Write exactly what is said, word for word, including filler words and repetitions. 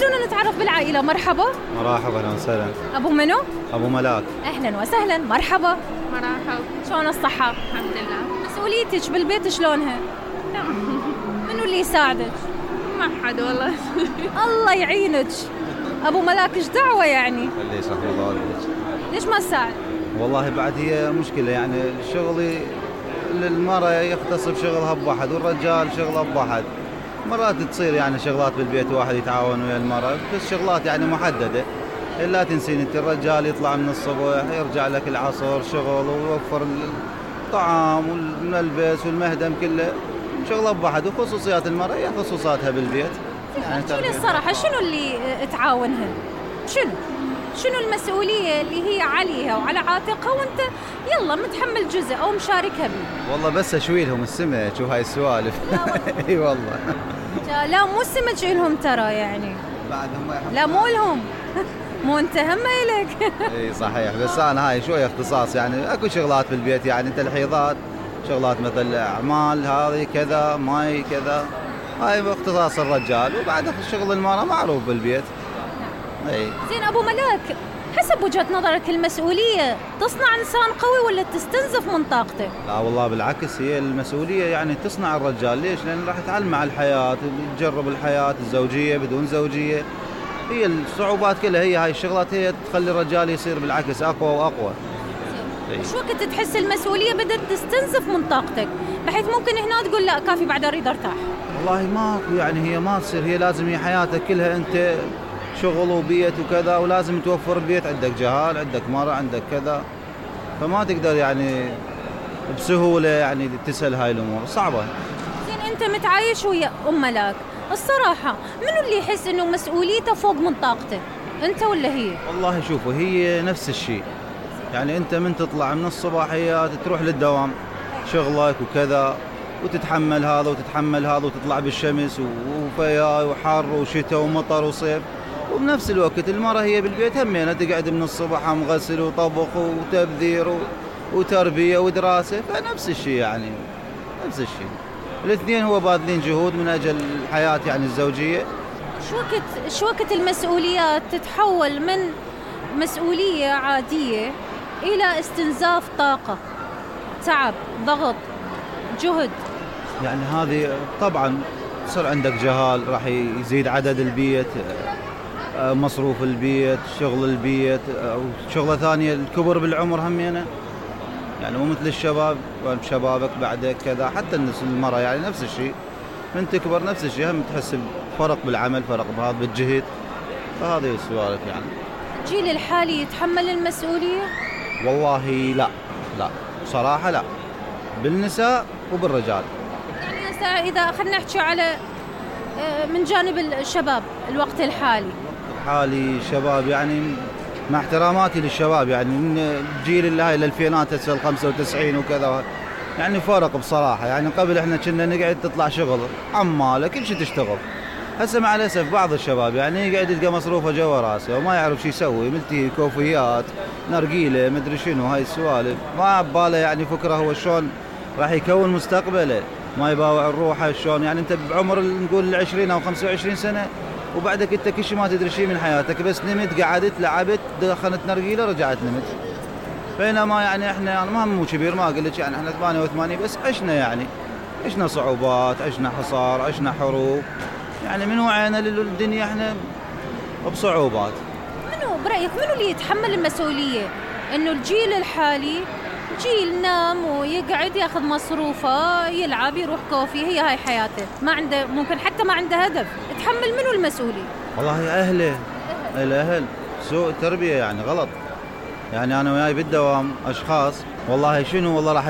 خلونا نتعرف بالعائلة. مرحبا. مرحبا، اهلا وسهلا. ابو منو؟ ابو ملاك. اهلا وسهلا، مرحبا. مرحبا. شلون الصحة؟ الحمد لله. مسؤوليتك بالبيت شلونها؟ منو اللي يساعدك؟ ما حد والله. الله يعينك. ابو ملاك ايش دعوة يعني؟ اللي يصح الله عليك. ليش ما تساعد؟ والله بعد هي مشكلة يعني شغلي، المرأة يختص بشغلها بواحد والرجال شغله بواحد. مرات تصير يعني شغلات بالبيت واحد يتعاون ويا المرأة، بس شغلات يعني محددة. لا تنسين انت الرجال يطلع من الصبح يرجع لك العصر شغل ويوفر الطعام والملبس والمهدم كله شغله بواحد، وخصوصيات المرأة هي خصوصاتها بالبيت. يعني احكي لي الصراحة، شنو اللي تعاونها؟ شنو؟ شنو المسؤولية اللي هي عليها وعلى عاتقها وانت يلا متحمل جزء او مشاركها بيه؟ والله بس اشوي لهم السمك شوف هاي السوالف. اي والله. لا مو السمك لهم ترى يعني. بعد هم يحبون. لا مو لهم. مو انت هم إلك. اي صحيح، بس انا هاي شوي اختصاص يعني اكو شغلات بالبيت يعني تلحيظات، شغلات مثل اعمال هذه كذا ماي كذا، هاي اختصاص الرجال، وبعد شغل المرأة معروف بالبيت. اي زين ابو ملاك، حسب وجهة نظرك المسؤولية تصنع انسان قوي ولا تستنزف من طاقته؟ لا والله بالعكس، هي المسؤولية يعني تصنع الرجال. ليش؟ لأن راح يتعلم على الحياة، يجرب الحياة الزوجية بدون زوجية. هي الصعوبات كلها هي هاي الشغلات هي تخلي الرجال يصير بالعكس أقوى وأقوى. شو وقت تحس المسؤولية بدأت تستنزف من طاقتك بحيث ممكن هنا تقول لا كافي بعد أريد أرتاح؟ والله ماكو يعني، هي ما تصير، هي لازم هي حياتك كلها أنت شغل وبيت وكذا، ولازم توفر البيت، عندك جهال عندك مرة عندك كذا، فما تقدر يعني بسهولة يعني تسهل هاي الأمور صعبة. زين أنت متعايش ويا أم ملاك، الصراحة منو اللي يحس إنه مسؤوليته فوق من طاقته؟ أنت ولا هي؟ والله شوفوا هي نفس الشيء يعني، أنت من تطلع من الصباحيات تروح للدوام شغلك وكذا، وتتحمل هذا وتتحمل هذا، وتطلع بالشمس وفيا وحر وشتاء ومطر وصيف، وبنفس الوقت المرأة هي بالبيت همينة تقعد من الصبح عم غسل وطبخ وتبذير وتربية ودراسة، فنفس الشيء يعني نفس الشيء. الاثنين هو باذلين جهود من أجل الحياة يعني الزوجية. شو وقت شو وقت المسؤوليات تتحول من مسؤولية عادية إلى استنزاف طاقة، تعب، ضغط، جهد؟ يعني هذه طبعا صار عندك جهال، راح يزيد عدد البيت، مصروف البيت، شغل البيت، وشغلة ثانية الكبر بالعمر همينة يعني مو مثل الشباب، شبابك بعدك كذا، حتى الناس المرأة يعني نفس الشيء من تكبر نفس الشيء، هم تحس بفرق بالعمل، فرق بهذا بالجهد، فهذه السوالف يعني. الجيل الحالي يتحمل المسؤولية؟ والله لا لا صراحة لا، بالنساء وبالرجال. يعني إذا خلنا نحكي على من جانب الشباب الوقت الحالي الحالي شباب يعني مع احتراماتي للشباب يعني من الجيل اللي هاي الألفينات هسه الخمسة وتسعين وكذا، يعني فرق بصراحة يعني. قبل احنا كنا نقعد تطلع شغل عمالة كل شيء تشتغل، هسه مع الأسف بعض الشباب يعني يقعد يلقى مصروفه جوا راسه وما يعرف شو يسوي، ملتي كوفيات نرقيله مدري شنو هاي السوالف، ما بباله يعني فكرة هو شلون راح يكون مستقبله، ما يباوع الروحه شلون يعني. انت بعمر نقول العشرين او خمسة وعشرين سنة وبعدك انت كل شيء ما تدري شيء من حياتك، بس نمت قعدت لعبت دخلت نرقيله رجعت نمت. بينما يعني احنا انا ما مو كبير ما اقول لك يعني احنا ثمانية وثمانين بس عشنا يعني عشنا صعوبات، عشنا حصار، عشنا حروب، يعني من وعينا للدنيا احنا بصعوبات. منو برأيك منو اللي يتحمل المسؤولية؟ انه الجيل الحالي جيل نام ويقعد ياخذ مصروفه يلعب يروح كوفي، هي هاي حياته، ما عنده ممكن حتى ما عنده هدف، تحمل منو المسؤولية؟ والله اهله الاهل سوء التربية يعني غلط يعني. انا وياي بالدوام اشخاص والله شنو والله راح